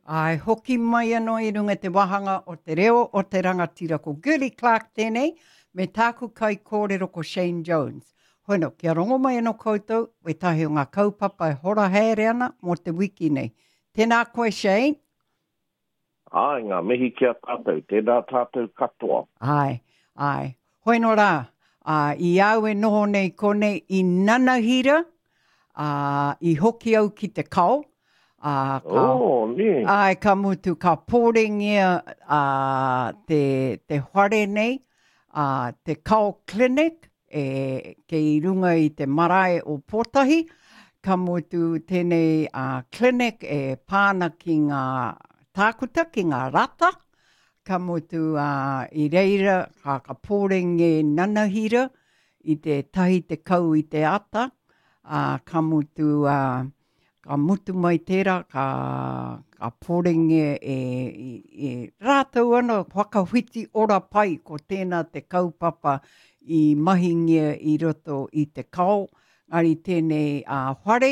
Āe, hoki mai anō i runga i te wāhanga o Te Reo o te Rangatira. Ko Girlie Clarke tēnei, me tāku kaikōrero ko Shane Jones. Hono, kia rongo mai anō koutou wētahi o ngā kaupapa e hora haere ana mō te wiki nei. Tēnā koe Shane. Āe, ngā mihi ki a tātou. Tēnā tātou katoa. Āe, āe. Hoeno rā, ā, i au e noho nei konei i nanahira, ā, i hoki au ki te kao, ā, ka, oh, nē. Āe, ka mutu, ka pōrengia ā, te, te whare nei, ā, te Kao Clinic, e, kei runga i te marae o Pōtahi, ka mutu tēnei ā, clinic e pā ana ki ngā tākuta, ki ngā rata, ka mutu ā, i reira ka, ka pōrenge nanahira i te 10 i te ata, ā, ka mutu ā, Ka mutu mai tērā, ka, ka pōrenge e, e, e rātou ana whakawhiti ora pai, ko tēnā te kaupapa i mahingia i roto i te kao, ngari tēnei a whare,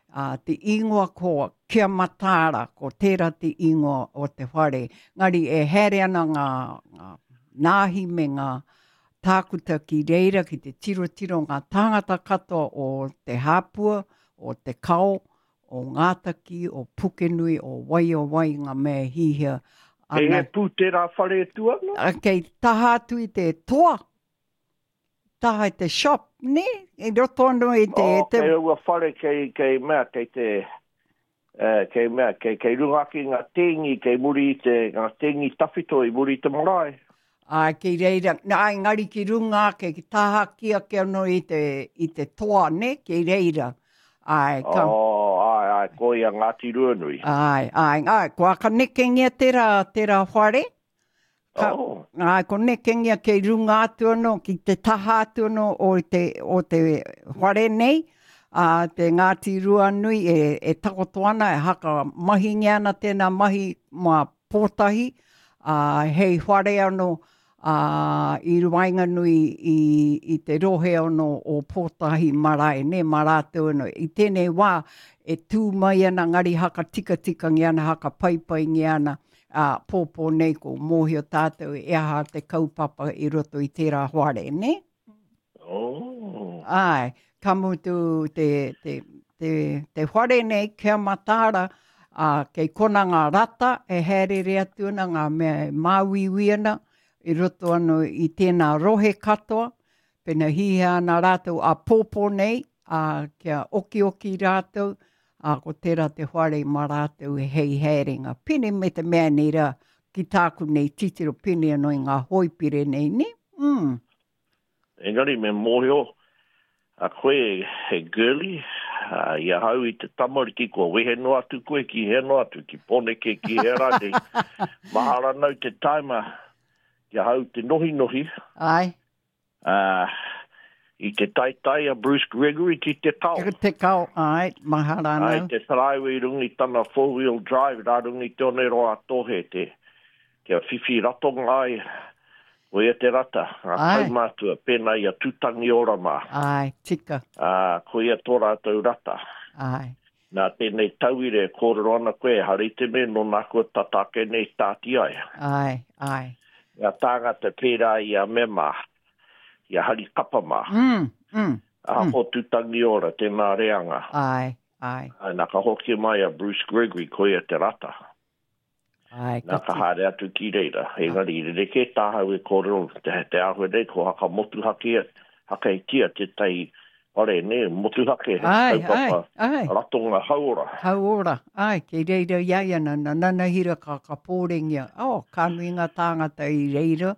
a, te ingoa ko Kia Mataara, ko tērā te ingoa o te whare. Ngari e haere ana ngā, ngā nāhi me ngā tākuta ki reira ki te tirotiro ngā tāngata katoa o Te Hāpua, o Te Kao, o Ngātaki, o Pukenui, o Waiowai ngā mea e hihia ana. Kei he pū tērā whare e tū ana? Kei taha atu i te toa, taha i te shop, nē? I roto anō i te... Oh, kei aua whare kei, kei mea, kei te, eh, kei mea, kei, kei runga ake i ngā tēngi, kei muri i te, ngā tēngi tawhito i muri i te marae. Āe, kei reira, āe, engari ki runga ake, ki tāhaki ake anō i te, i te toa, nē, kei reira. Āe, ka... Oh, āe, āe, ko ia Ngāti Ruanui. Āe, āe, āe, kua ka nekengia tērā, tērā whare. Ka, oh. Āe, ko nekengia kei runga atu anō, ki te taha atu anō o te, o te whare nei, a te Ngāti Ruanui e, e takoto ana, e haka mahingia ana tēnā mahi mā Pōtahi, ā, hei whare anō, ā, i waenganui i, i te rohe anō o Pōtahi marae, nē, mā rātou anō. I tēnei wā, e tū mai ana ngari haka tikatikangia ana, haka paipaingia ana, ā, pōpō nei ko mōhio tātou e aha te kaupapa i roto i tērā whare, nē? Oh. Āe, ka mutu te, te, te, te whare nei, kia mataara, ā, kei kona ngā rata e haerere atu ana, ngā mea e māuiui ana, i roto anō i tēnā rohe katoa, pena hihia ana rātou āpōpō nei, ā, kia okioki rātou, ā, ko tērā te whare mā rātou hei haerenga. Pēnei me te mea nei rā, ki tāku nei titiro pēnei anō i ngā hoipire nei, nē? Mm. Engari me mōhio a koe he girlie, i ahau i te tamariki kua wehe noa atu koe ki hea noa atu, ki Poneke, ki hea rānei. Mahara nau te taima ki ahau te nohinohi. Ai. Uh, i te taitai a Bruce Gregory ki te kao. Ki te kao, ai, mahara nau. Ai, te taraiwa i runga i tana four-wheel drive, rā runga i te oneroa a Tohe, te, kia whiwhi ratonga ai, ko ia te rata, ngā kaumātua, pēnā i a Tūtangiora mā. Āe, tika. Ā, ko ia tō rātou rata. Āe. Nā tēnei tauira e kōrero ana koe, ehara i te mea nō nā kua tata ake nei tāti ai. Āe, āe. Ngā tāngata pērā i a Mema, i a Hari Kapa mā. Mm, mm. Ahakoa Tūtangiora, tēnā reanga. Āe, āe. Āe, nā ka hoki mai a Bruce Gregory, ko ia te rata. Āe, ka Nā, ka haere atu ki reira. Engari, i rerekē tāhau e kōrero, te, te āhua nei, ko haka motuhake, hakeitia tētahi whare, nē, motuhake, he Āe, kaupapa āe, āe. ratonga hauora. Hauora, āe, kei reira i a ia nā, nā Nanahira ka, ka pōrengia. Oh, ka nui ngā tāngata i reira,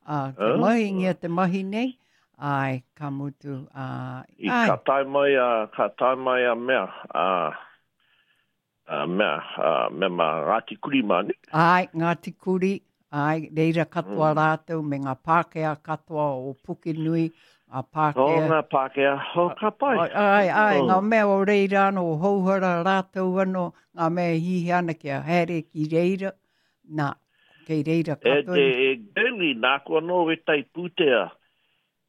ā, kia mahingia te mahi nei, āe, ka mutu, ā, I, ka tae mai a, ka tae mai a mea, a, A mea, a mema Ngāti Kuri mā, nē? Āe, Ngāti Kuri, āe, reira katoa mm. rātou me ngā Pākehā katoa o Pukenui, ngā Pākehā. Oh, ngā Pākehā, oh, ka pai. Āe, āe, oh. ngā mea o reira anō, o Houhara rātou anō, ngā mea e hihia ana kia haere ki reira, nā, kei reira katoa. E, e, e Girlie, nāku anō wētahi pūtea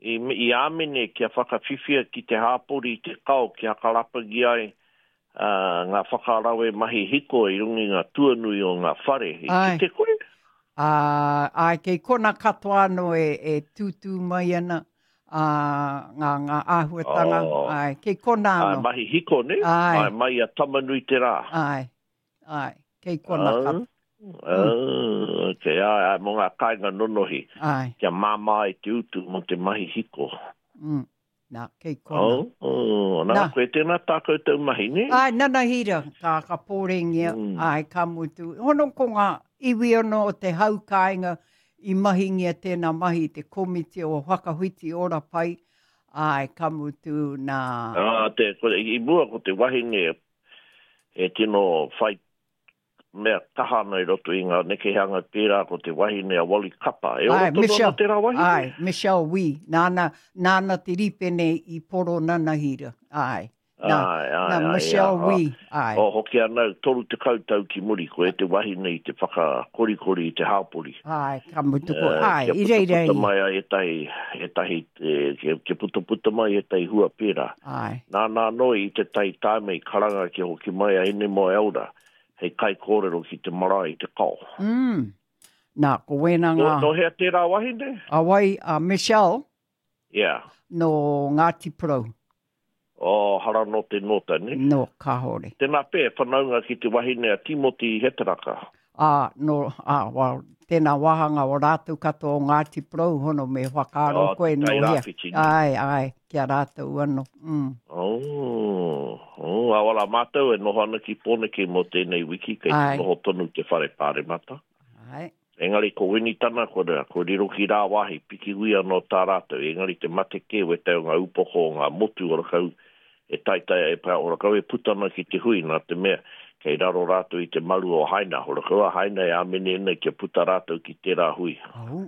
I āmene kia whakawhiwhia ki te hāpori i te kao kia hakarapangi ai Ā, ngā whakarawe mahi hiko i runga i ngā tuanui o ngā whare. I Āe. kite koe? Ā, āe, kei kona katoa anō e, e tūtū mai ana, ā, ngā, ngā āhuatanga, Oh. āe, kei kona Āe, anō. mahi hiko, nē? Āe. Āe, mai i a Tama-nui-te-rā. Āe, āe, kei kona Ā, katoa. ā, okay, āe, āe, mō ngā kāinga nonohi, Āe. kia māmā ai te utu mō te mahi hiko. Mm. Nā, kei kona. Oh, oh, nā, Nā. koe tēnā tā koutou mahi, nē? Āe, nana hira, ka, ka pōrengia, Mm. āe, ka mutu. Hono ko ngā iwi anō o te hau kāinga i mahingia tēnā mahi i te komiti o Whakawhiti Ora Pai, āe, ka mutu, nā. Ā, te, ko, i mua ko te wahine e tino whai mea kaha ana i roto i ngā nekehanga pērā ko te wahine a Wally Kapa. E ora Āe, tonu ana Michelle, tērā wahine? āe, Michelle Wee, nāna, nāna te rīpene i poro nanahira, āe. Nā, Āe, āe, nā āe, Michelle ā, Wee, āe. Oh, hoki ana au, 30 tau ki muri, koe te wahine i te whakakorikori i te hāpori. Āe, ka mutu ko, Eh, āe, kia i reira putaputa ia. mai ai ētahi, ētahi, eh, kia, kia putaputa mai ētahi hua pērā. Āe. Nāna anō i te tai tāme i karanga kia hoki mai a Hinemoeaura hei kaikōrero ki te marae i Te Kao. Mm. Nā, ko wēnā Nō, ngā... nō hea tērā wahine? A wai, a Michelle? Yeah. Nō Ngāti Porou. Oh, hara nō te nōta, ne? Nō, kāore. Tēnā pea, e whanaunga ki te wahine a Timoti Hetaraka. Ā, nō, ā, well, tēnā wāhanga o rātou katoa o Ngāti Porou hono me whakaaro Oh, koe te nō Tai hea. Rāwhiti, ne? Āe, āe, ki a rātou anō. Mm. Oh, oh, a wala mātou e noho ana ki Pōneke mō tēnei wiki, kei te Āe. noho tonu te whare pāremata. Āe. Engari ko Winitana, ko, ko riro ki rāwāhi, pikihui anō tā rātou, engari te mate kē wētahi o ngā upoko o ngā motu o rakau e taetae e pā, o rakau e puta ana ki te hui, nā te mea kei raro rātou i te maru o Haina, o rakau a Haina e āmene ana kia puta rātou ki tērā hui. Au,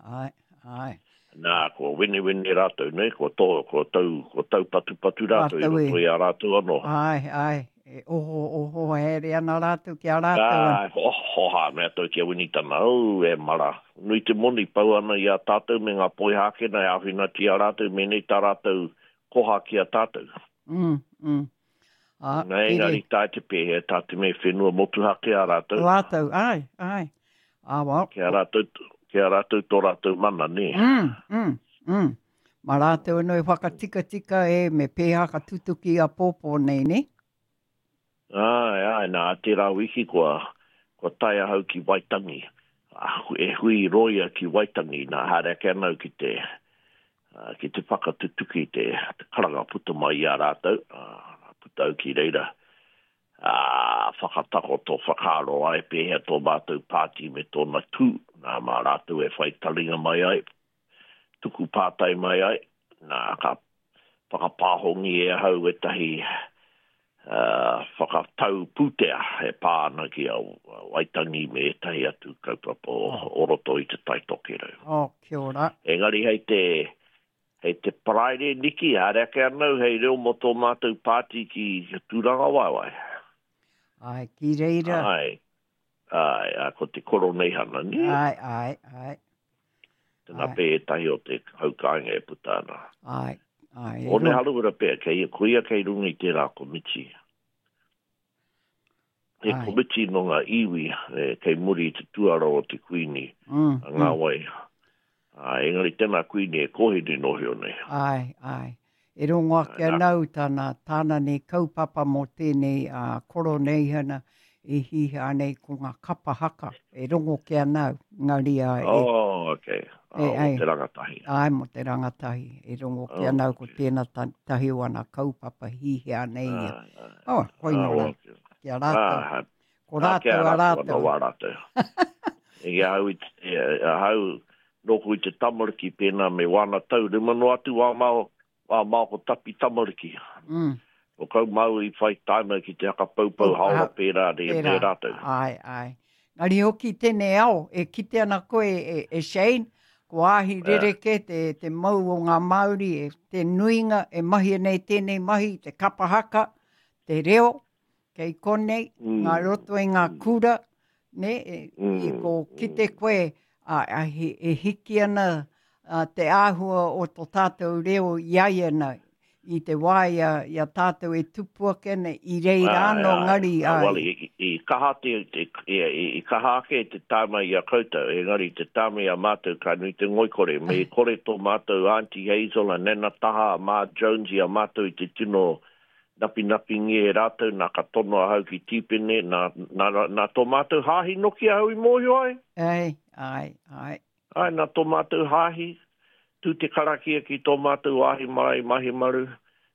āe, āe. Nā, kua wenewene rātou, nē, kua tō, kua tau, kua taupatupatu rātou i Rātou e. roto i a rātou anō. Āe, āe, e oho, oho haere ana rātou ki a rātou anō. Āe, oho hā, mea tau ki a Winitana, au, e mara, nui te moni pau ana i a tātou me ngā Poihākena e āwhinatia rātou mēnei tā rātou koha ki a tātou. Mm, mm. Ā, Nā, engari pere. tae te pēhea, tā te mea whenua motuhake a rātou. Rātou, āe, āe. Ā, well. Ki a rātou, ki a rātou tō rātou mana, nē? Mm, mm, mm. Mā rātou anō e whakatikatika e, me pēhea ka tutuki āpōpō nei, nē? Āe, āe, nā, tērā wiki kua, kua tae ahau ki Waitangi. E hui rōia ki Waitangi, nā, haere ake ana au ki te, ki te whakatutuki te, te karanga puta mai i a rātou, ā, puta au ki reira, ā, whakatakoto whakaaro ai pēhea tō mātou pāti me tōna tū, nā, mā rātou e whai taringa mai ai, tuku pātai mai ai, nā, ka whakapāhongi e ahau ētahi whakatau pūtea e pā ana ki a Waitangi me ētahi atu kaupapa o roto i Te Tai Tokerau. Oh, kia ora. Engari hei te, hei te Paraire Niki, haere ake ana au hei reo mō tō mātou pāti ki Tūrangawaewae. Āe, ki reira. Āe, āe, ā, ko te Koroneihana, nē? Āe, āe, āe. Tēnā pea ētahi o te hau kāinga e puta ana. Āe, āe. Hone Harawira pea, kei, ko ia kei runga i tērā komiti. He Āe. komiti nō ngā iwi e, kei muri i te tuara o te Kuini, Mm, a ngā wai. Ā, engari tēnā Kuini e kōhine nohio nei. Āe, āe. E rongo ake ana au tāna, tāna nei kaupapa mō tēnei ā, koroneihana e hīhā nei ko ngā kapa haka. E rongo ke ana au, engari ā, e, Oh, okay. e, Oh, mō ai, te rangatahi. āe, mō te rangatahi. E rongo ke Oh, ana au ko okay. tēnā ta, tahi o ana kaupapa hīhā nei ia. Āe, āe. Oh, koina Ah, rā, well, ki a rātou. ah, Ko ah, ki a rātou a rātou anō rātou. wā rātou. I ahau, i, te- ahau, nōku i te tamariki pēnā me wāna tau, rima noa atu wā mao, wā mao ko tapi tamariki. Ko kau māu i whai taima ki te haka poupou Pou, haora ah, pērā re, me pērā. rātou. Āe, āe. Engari hoki tēnei ao, e kite ana koe, e, e Shane, ko āhi Yeah. rerekē te, te mau o ngā Māori, e, te nuinga e mahia nei tēnei mahi, te kapa haka, te reo, kei konei, ngā roto i ngā kura, ne, e, i ko kite koe, a, a, he, e hiki ana a, te āhua o tō tātou reo i a ia nei. i te wā i a, i a tātou e tupu ake ana, i reira anō ngari, ai. Well, i, i kaha te, te, i, i kaha ake te tāma i a koutou, engari te tāma i a mātou ka nui te ngoikore. Me i kore tō mātou Auntie Hazel, a Nana Taha, a Ma Jones i a mātou i te tino napinapingia e rātou, nā ka tono ahau ki Tīpene, nā, nā, nā tō mātou hāhi noki ahau i mōhio ai. Ai, ai, ai. Ai, nā tō mātou hāhi, tū te karakia ki tō mātou wāhi marae i Mahimaru,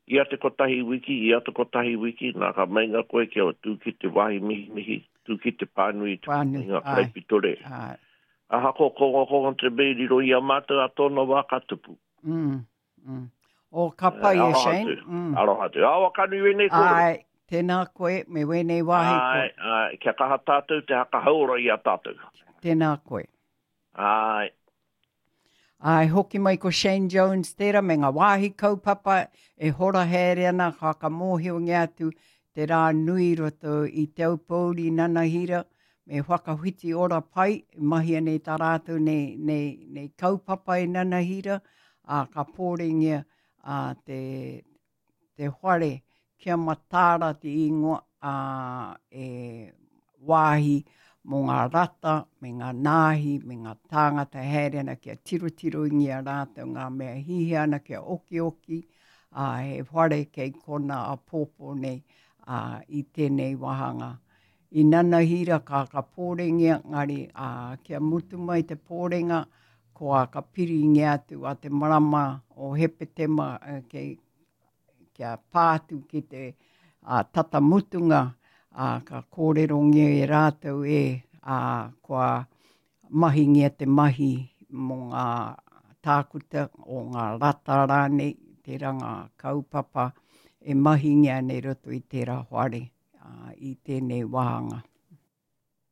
ia te kotahi wiki, ia te kotahi wiki, nā ka meinga koe kia tū ki te wāhi mihimihi, tū ki te pānui i ngā karaipiture. Ahakoa kongokongo te mea i riro i a mātou a tōna wā ka tupu. Mm, mm. O, ka pai e Shane. Aroha atu, mm. aroha atu. Awa ka nui wēnei kōrero. Ai, tēnā koe, me wēnei wāhi koe. Ai, ai, kia kaha tātou te haka hauora i a tātou. Tēnā koe. Āe. Āe, hoki mai ko Shane Jones tērā me ngā wāhi kaupapa e hora haere ana ka whakamōhiongia atu te rā nui i roto i Te Aupōuri nanahira me Whakawhiti Ora Pai e mahia nei tā rātou nei, nei, nei kaupapa e nanahira, ā, ka pōrengia ā, te, te whare kia mataara te ingoa, ā, e wāhi mō ngā rata me ngā nāhi me ngā tāngata e haere ana kia tirotirongia rātou ngā mea hihia ana kia okioki, ā, he whare kei kona āpōpō nei, ā, i tēnei wāhanga. I nanahira ka ka pōrengia, ngari, ā, kia mutu mai te pōrenga, kua ka piringia atu a te marama o Hepetema kei, kia pā atu ki te ā, tata mutunga, ā, ka kōrerongia e rātou e, ā, kua mahingia te mahi mō ngā tākuta o ngā rata rānei, tērā ngā kaupapa e mahingia nei roto i tērā whare, ā, i tēnei wāhanga.